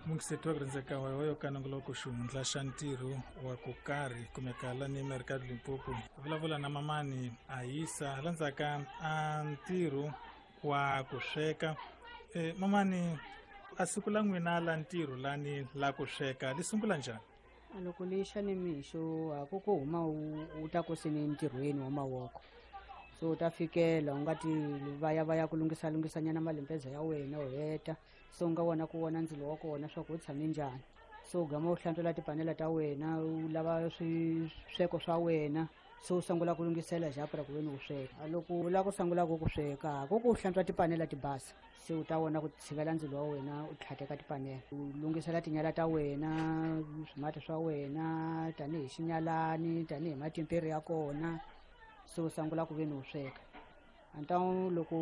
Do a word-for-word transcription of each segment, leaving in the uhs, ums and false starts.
Mungiseti wa ku rhandzeka wa wa yo ka nongoloko xihundla xa ntirho wa ku karhi kumeka lani Mercado Limpopo vulavula na mamani a yisa landzaka a ntirho wa ku sweka. E, mamani a siku la n'wina la ntirho lani la ku sweka li sungula njhani? Loko lixa ni mixo a ku ku huma u ta ku seni ntirhweni wa mavoko, so u ta fikela u nga ti vaya vaya ku lunghisa lunghisanyana malimpeza ya wena u heta, so u nga vona ku vona ndzilo wa kona swa ku u tshame njhani, so u gama u hlantswela tipanela ta wena u lava swisweko swa wena, so u sungula ku lunghisela japra ku veni u sweka. Loko u lava ku sungula ku ku sweka ku ku hlantswa tipanela ti basa, se u ta vona ku tshivela ndzilo wa wena u tlhateka tipanela, u lunghisela tinyala ta wena swimati swa wena tanihi xinyalani tanihi matimperi ya kona, se u sungula ku veni u sweka. Anta loko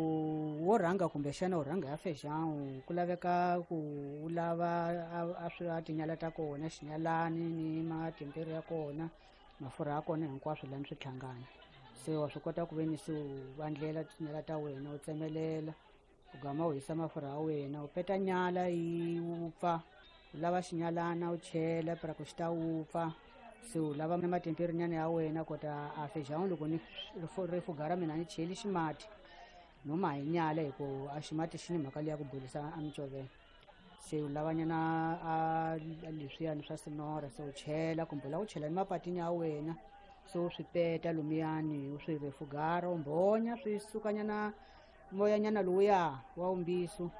wo rhanga kumbexana u rhanga ya fejan ku laveka ku u lava a swi a tinyala ta kona xinyalani ni matimperi ya kona mafurha ya kona hinkwaswo lani swi hlangana, se wa swi kota ku veni se u vandlela tinyala ta wena u tsemelela u gama u hisa mafurha ya wena u peta nyala yi wupfa, u lava xinyalana u chela pra ku xi ta wupfa, se u lava na matimperi nyana ya wena kota a fejan loko ni rifuga ra mina ni cheli ximati no ma hi nyala hi ku a ximati xi ni mhaka leya ku bolisa a micovelo, se u lavanyana a leswiyani swa sinora se u chela kumbe u lava ku chela ni mapatini ya wena, se u swi peta lumiyani u swi refugara u mbhonya swi sukanyana moyanyana lowuya wa umbiso,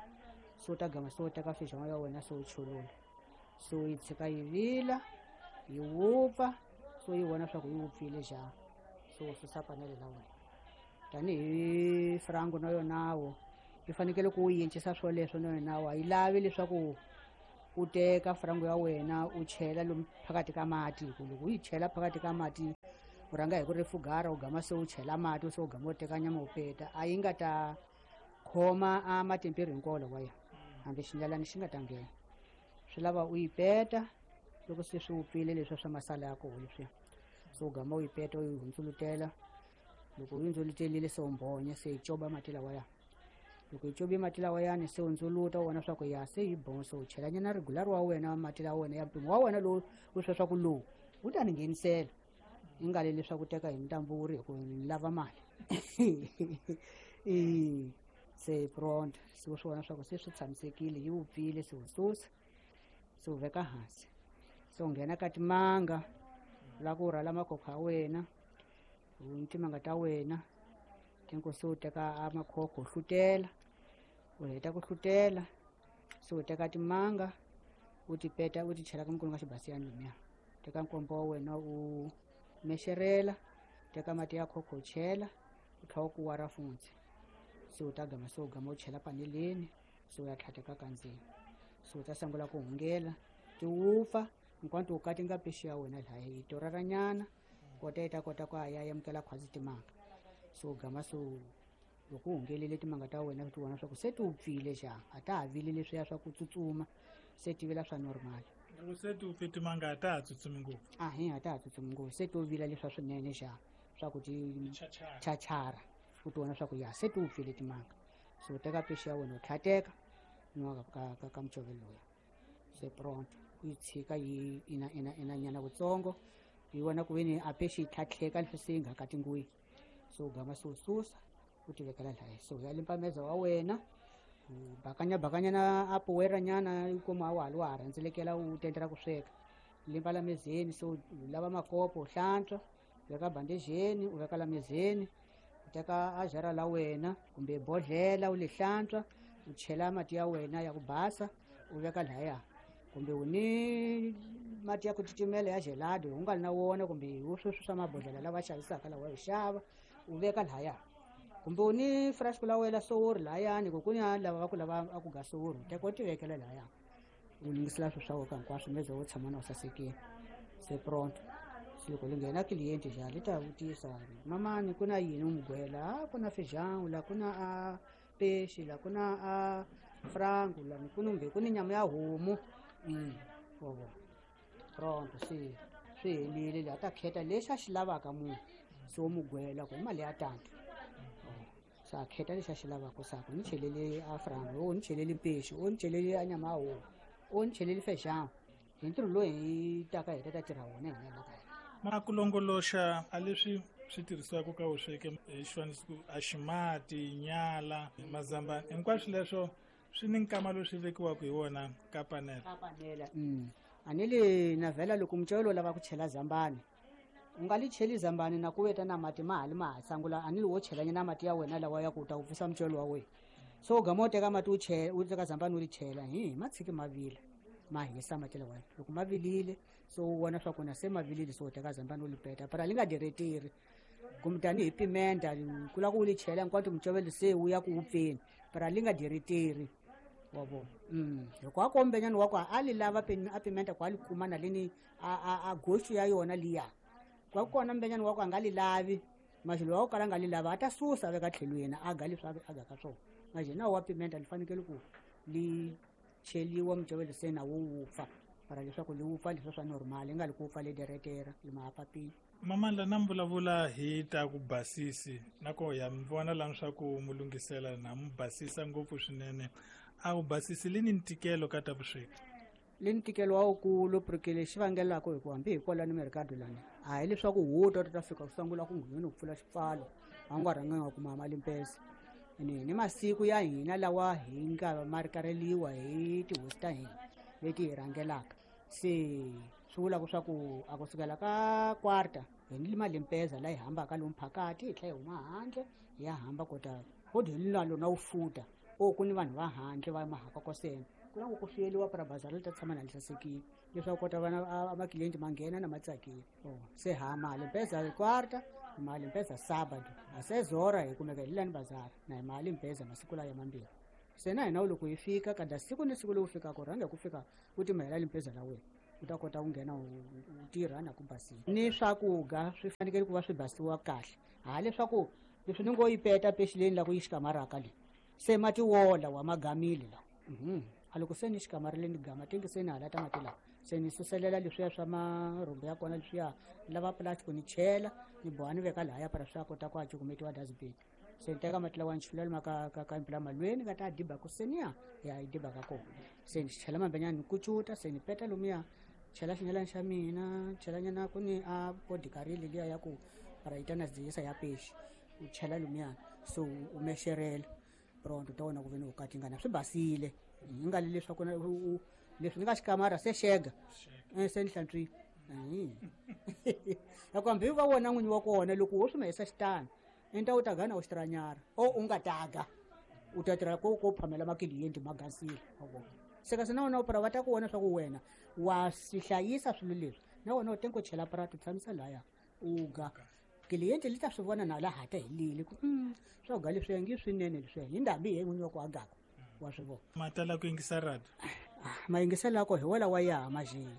se u ta gama se u teka fejan ya wena se u chulula, se u yi tshika yi vila yi wupfa, so yi vona swa ku yi wupfile njhani, so u susa panele la wena. Tanihi frango na yonawo yi fanekele ku u yincisa swoleswo na yonawo a yi lavi leswaku u teka frango ya wena u chela lomu phakathi ka mati, hi ku loko u yi chela phakathi ka mati u rhanga hi ku refugara u gama se u chela mati se u gama u teka nyama u peta a yi nga ta khoma a matimperi hinkwawo lawaya hambi xinyalani xi nga ta nghena, swi lava u yi peta loko se swi wupfile leswi swa masala ya kona leswiya, so u gama u yi peta u yi hundzulutela, loko u yi hundzulutelile se u mbhonya se yi coba mati lawaya, loko yi cobe mati lawayani se u ndzuluta u vona swa ku ya se yi bon, se u chelanyana regular wa wena mati la wena ya mpimo wa wena lowu u swi swa ku lowu wu ta ni nghenisela yi nga le leswaku teka hi ntamburi hi ku ni lava mali i se pronto se u swi vona swa ku se swi tshamisekile yi wupfile se u susa se u veka hansi, se u nghena ka timanga la ku rhwala makhokho ya wena u timanga ta wena tinko se u teka a makhokho u hlutela u heta ku hlutela se u teka timanga u ti peta u ti chela ka mukulu ka xibasiyani lumiya, teka nkombo wa wena u mexerela teka mati ya khokho u chela u tlhela u kuwara funtsi, se u ta gama se u gama u chela paneleni se u ya tlhateka ka ndzeni, se u ta sungula ku hungela ti wupfa hinkwato u katinga pexi ya wena laha yi toraranyana kota yi ta kota ku ya amukela khwazi timanga, se u gama se loko u hungelile timanga ta wena ti vona swa ku se ti wupfile xa a ta ha vili leswiya swa ku tsutsuma se ti vila swa normal. Loko se ti wupfe timanga a ta ha tsutsumi ngopfu? Ahe, a ta ha tsutsumi ngopfu, se to vila leswa swinene xa swa ku ti chachara u ti vona swa ku ya se ti wupfile timanga, se u teka pexi ya wena u tlhateka nwa ka ka ka mucovelo lowuya se pronto u yi tshika yi ina ina ina nyana wutsongo yi vona ku veni a pexi yi tlhatlheka leswi se yi nga katingiwi, se u gama se u susa u ti vekela lahaya, se u ya limpa meza wa wena u bakanya bakanyana a puweranyana yi kuma wa ha wa ha rhendzelekela u tendela ku sweka limpa la mezeni, se u lava makopo u hlantswa u veka bandejeni u veka la mezeni u teka a jara la wena kumbe bodlela u li hlantswa u chela mati ya wena ya ku basa u veka lahaya, kumbe u ni mati ya ku titimela ya gelado u nga ri na wona kumbe u sweswi swa mabodhlela lava xavisaka lawa u xava u veka lahaya, kumbe u ni fresh la wena sowori lahayani ku ku ni lava va ku lava a ku ga sowori u teka u ti vekela lahaya u lunghisela swilo swa wena hinkwaswo meze wo tshama na u sasekile se pronto. Se loko li nghena client ja li ta vutisa mamani ku na yini u mugwela a ku na fejan la ku na a pexi la ku na a frango la ku kumbe ku ni nyama ya homu mm wa vona pronto se swi helile la ta kheta lexi a xi lavaka munhu se u mugwela ku hi mali ya tano se a kheta lexi a xi lavaka sa ku ni chelele a frango o ni chelele pexi o ni chelele a nyama ya homu. O ni cheleli feijão. Hi ntirho lowu hi taka hi ta ta tirha wona hina la kaya. Ma ku longoloxa a leswi swi tirhisiwaka ka vusweki hi xifaniso ku a ximati, nyala, mazambani, hinkwaswo leswo swi ni nkama lowu swi vekiwaka hi wona ka panela. Ka panela. Mm. A ni le na vhela loko mucelo u lava ku chela zambani, u nga li cheli zambani na ku veta na mati ma ha li ma ha sangula, a ni li wo chelanyana mati ya wena lawa ya ku ta wupfisa mucelo wa wena. So u gama u teka mati u chela, u teka zambani u ri chela, hi ma tshiki ma vila, ma hisa mati lawa. Loko ma vilile, so u vona swa ku na se ma vilile, so u teka zambani u li peta, para li nga dereteri. Kumbe tanihi pimenta, ku lava ku u li chela hinkwato mucovelo se wu ya ku wupfeni, para li nga dereteri. Wa vona? Mm. Hikuva a kombenyana wa ku a li lava a pimenta ku a li kuma na leni a, a, a goxu ya yona liya. Kwa kona mbenyana wa ku a nga li lavi, maxelo wa ku kala a nga li lavi, a ta susa a veka tlhelweni, a ga leswi a ga ka swona. Maxelo na wa pimenta li fanekele ku li cheliwa mucovelo se na wu wupfa, para leswaku li wupfa leswi swa normal, li nga li ku wupfa li deretera, li ma papini. Mamandla, na mi vulavula hi ta ku basisi, na ko ya mi vona la swa ku mu lunghisela na mu basisa ngopfu swinene. A wu basisi li ni ntikelo ka ta vusweki? Li ntikelo wa wukulu, porque lexi vangelaka hi ku hambi hi kwalano merikado lani, a hi leswaku wu ta ta fika ku sungula ku nghena ku pfula xipfalo, a wu nga rhanganga ku kuma mali mpesa. Ni ni masiku ya hina lawa hi nga ma rikareliwa hi tihosi ta hina leti hi rhangelaka. Se swi vulaka swa ku a kusukela ka quarta hi ni mali mpesa la hi hambaka lomu phakati, hi tlhela hi huma handle hi ya hamba kota kodwa hi na lona wu futa o ku ni vanhu va handle va mahaka kosena ku na ku suyeliwa para bazari li ta tshama na li sasekile leswaku kota vana a makilenti ma nghena na ma tsakile. Oh, se ha mali mpesa quarta, mali mpesa sábado, a se zora hi kumeka hi lani bazari na hi mali mpesa masiku lawa ya mambirhi. Se na hina loko hi fika kada siku ni siku lowu fikaka rhanga ku fika u timahela limpeza la wena, u ta kota ku nghena u tirha na ku basisa. Ni swakudya swi fanekele ku va swi basiwa kahle, ha leswaku leswi ni ngo yi peta pexileni la ku yi xikamaraka le se mati wola wa magamile la. Mhm. A loko se ni xikamarile ni gama tingi se ni halata mati lawa, se ni suselela leswiya swa marhumbi ya kona leswiya lava plastic ni chela ni boha ni veka lahaya para swa kota ku a cukumetiwa dustbin. Se ni teka mati lawa ni chulela ma ka ka ka mpila malweni ka ta diba ku seniya ya yi diba ka kona. Se ni chela mambenyana ni kucuta, se ni peta lomuya chela xinyalani xa mina, chela nyana ku ni a podikarile liya ya ku para yi ta na dziyisa ya pexi, u chela lumiyana so u mexerela pronto ta wona ku ve ni u katingana swi basile. Hi nga le leswaku leswi ni nga xikamara se xega se ni hlantswile. Hikuva hambi va wona n'winyi wa kona loko wo swi mahisa xitano i ta u ta gana u xitiranyara o u nga taga u ta tirha ko ko phamela makiliyenti ma gasile. Se kasi na wena u para va ta ku vona swa ku wena wa swi hlayisa swilo leswi, na wena u tengo chela prato tshamisa laya u ga kiliyenti li ta swi vona na laha ta helile ku mm swa ga leswi ngi swinene leswi hi ndhambi hi n'winyi wa ku agaka wa swi vona. Ma tala ku yingisa radio? Ma yingisela ko hi wela wa ya majini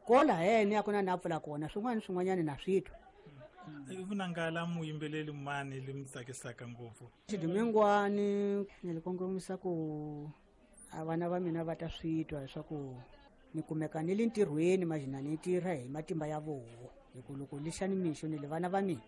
kola hene ya ku na na pfula kona swin'wana swin'wanyana na swi twa. I vunangala muyimbeleli mani li mi tsakisaka ngopfu? Xidumingwani ni li kongomisa ku a vana va mina va ta swi twa leswaku ni kumeka ni le ntirhweni majina ni tirha hi matimba ya voho, hi ku loko lexani mixo ni le vana va mina.